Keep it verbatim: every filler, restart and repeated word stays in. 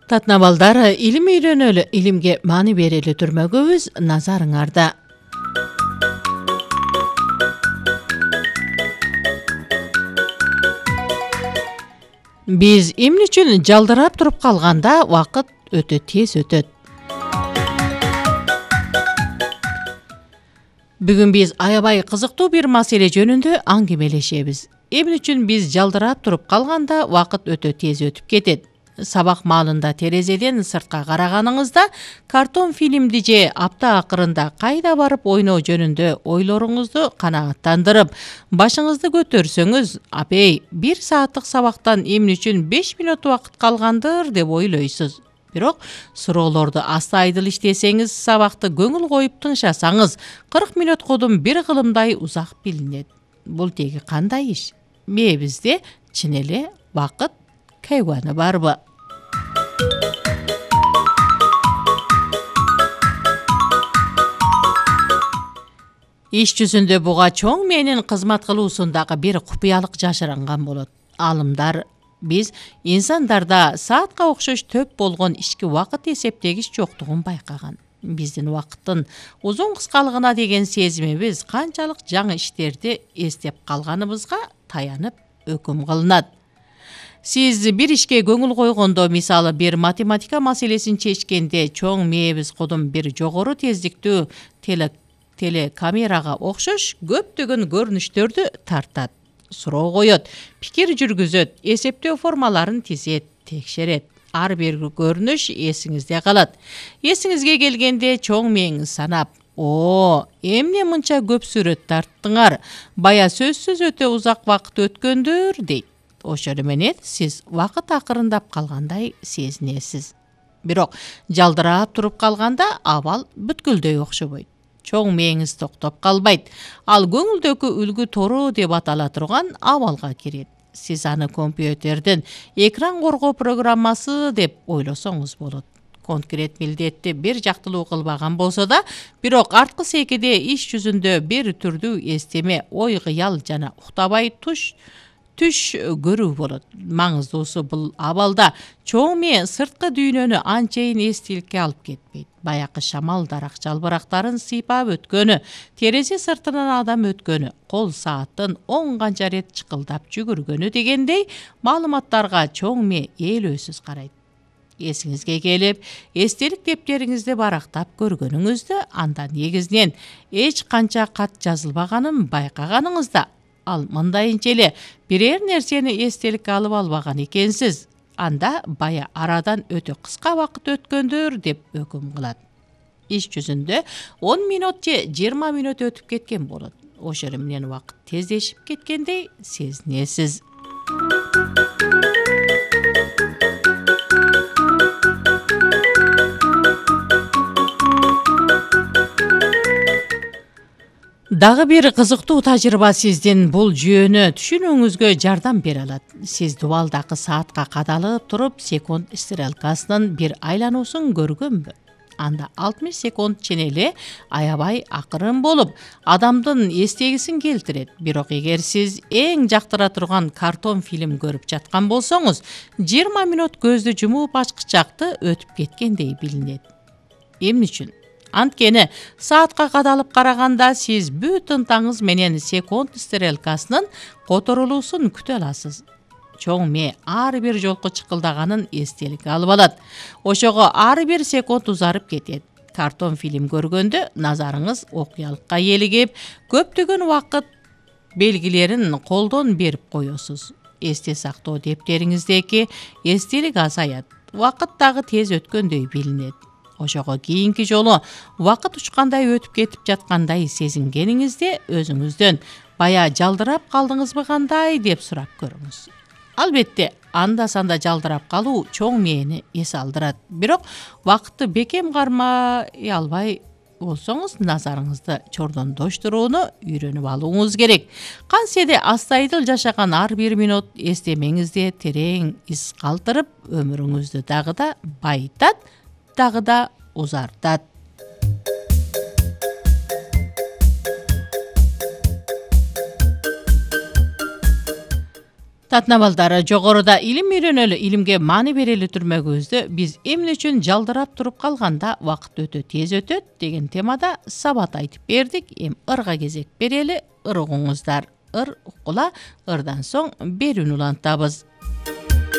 Татына балдар, илим үйрөнөлү, илимге маани берели түрмөгөбүз, назарыңарда. Биз эмне үчүн жалдырап туруп калганда вакыт өтө тез өтөт? Бүгүн биз аябай кызыктуу бир маселе жөнүндө аңгемелешебиз. Эмне үчүн биз жалдырап туруп калганда вакыт өтө тез өтүп кетет? Сабак маалында терезеден сыртка караганыңызда картон фильмди же апта акырында кайда барып ойноо жөнүндө ойлоруңузду канааттандырып, башыңызды көтөрсөңүз, апей, бир сааттык сабактан эмне үчүн беш мүнөт убакыт калгандыр деп ойлойсуз. Бирок суроолорду астайдыл иштесеңиз, сабакты көңүл коюп тыңшасаңыз, кырк мүнөт кодум бир кылымдай узак билинет. Бул теги кандай иш? Мээбизде чын эле вакыт кайганы барбы? Иш жүзүндө буга чоң мээнин кызмат кылуусундагы бир купуялык жашыранган болот. Алымдар биз инсандарда саатка окшош төп болгон ички вакыт эсептегич жоктугун байкаган. Биздин вакыттын узун кыскалыгына деген сезимибиз канчалык жаңы иштерди эстеп калганыбызга таянып өкүм кылынат. Сиз бир ишке көңүл койгондо, мисалы бир математика маселесин чечкенде, чоң мээбиз кодум бир жогору тездиктүү теле телекамерага окшош көптөгөн көрүнүштөрдү тартат, суроо коет, пикир жүргүзөт, эсептөө формаларын тизет, текшерет. Ар бир көрүнүш эсиңизде калат. Эсиңизге келгенде чоң мээңиз санап, «О, эмне мынча көп сүрөт тарттыңар? Бая сөзсүз өтө узак вакыт өткөндүр» дейт. Ошол менен сиз вакыт акырындап калгандай сезинесиз. Бирок жалдырап туруп калганда абал бүткүлдөй окшобойт. Чоң мээңиз токтоп калбайт. Ал көңүлдөгү үлгү тору деп атала турган абалга кирет. Сиз аны компьютерден экран коргоо программасы деп ойлосоңуз болот. Конкрет милдетти бир жактылуу кылбаган болсо да, бирок арткы секиде иш жүзүндө бир түрдүү эстеме, ой кыял жана уктабай туш түш көрүү болот. Маңыздуусу бул абалда чоң мээ сырткы дүйнөнү анчейин эстиликке алып кетпейт. Баякы шамал дарак жалбырактарын сыйпап өткөнү, терезе сыртынан адам өткөнү, кол сааттын он канча рет чыкылдап жүгүргөнү дегендей маалыматтарга чоң мээ ээлөөсүз карайт. Эсиңизге келип, эстелик дептериңизди барактап көргөнүңүздө, анда негизинен эч канча кат жазылбаганын байкаганыңызда, ал мындайынча эле бирер нерсени эстеликке алып албаган экенсиз, анда бая арадан өтө кыска вакыт өткөндүр деп өкүм кылат. Иш жүзүндө он мүнөт же жыйырма мүнөт өтүп кеткен болот. Ошол менен вакыт тездешип кеткендей сезинесиз. Дагы бир кызыктуу тажрыйба сиздин бул жүйөнү түшүнүүңүзгө жардам бере алат. Сиз дубалдакы саатка кадалып туруп, секунд стрелкасынын бир айлануусун көргөнбү? Анда алтымыш секунд чын эле аябай акырын болуп, адамдын эстегисин келтирет. Бирок эгер сиз эң жактыра турган картон фильм көрүп жаткан болсоңуз, жыйырма мүнөт көздү жумуп ачкычакты өтүп кеткендей билинет. Эмне үчүн? Анткени саатка кадалып караганда сиз бүт ынтаңыз менен секунд стрелкасынын которулуусун күтө аласыз. Чоң мээ ар бир жолку чыкылдаганын эстеликке алып алат. Ошого ар бир секунд узарып кетет. Картон фильм көргөндө назарыңыз окуялыкка eelигип, көптөгөн вакыт белгилерин колдон берип коесуз. Эсте сактоо дептериңиздеки эстелик азаят. Вакыт дагы тез өткөндөй билинет. Ошого кийинки жолу вакыт учкандай өтүп кетип жаткандай сезингениңизде өзүңүздөн бая жалдырап калдыңызбы кандай деп сурап көрүңүз. Албетте, анда-санда жалдырап калуу чоң мээни эс алдырат. Бирок вакытты бекем кармай албай болсоңуз, назарыңызды чордондоштурууну үйрөнүп алууңуз керек. Кантсе астайдыл жашаган ар бир мүнөт эстемеңизде терең из калтырып, өмүрүңүздү дагы да байытат, дагы да узартат. урматтуу балдар, жогоруда илим үйрөнөлү, илимге маани берели түрмөгүбүздө биз эмне үчүн жалдырап туруп калганда убакыт өтө тез өтөт деген темада сабат айтып бердик. Эми ырга кезек берели. Ыр угуңуздар. Ыр уккула, ырдан соң берүүнү улантабыз.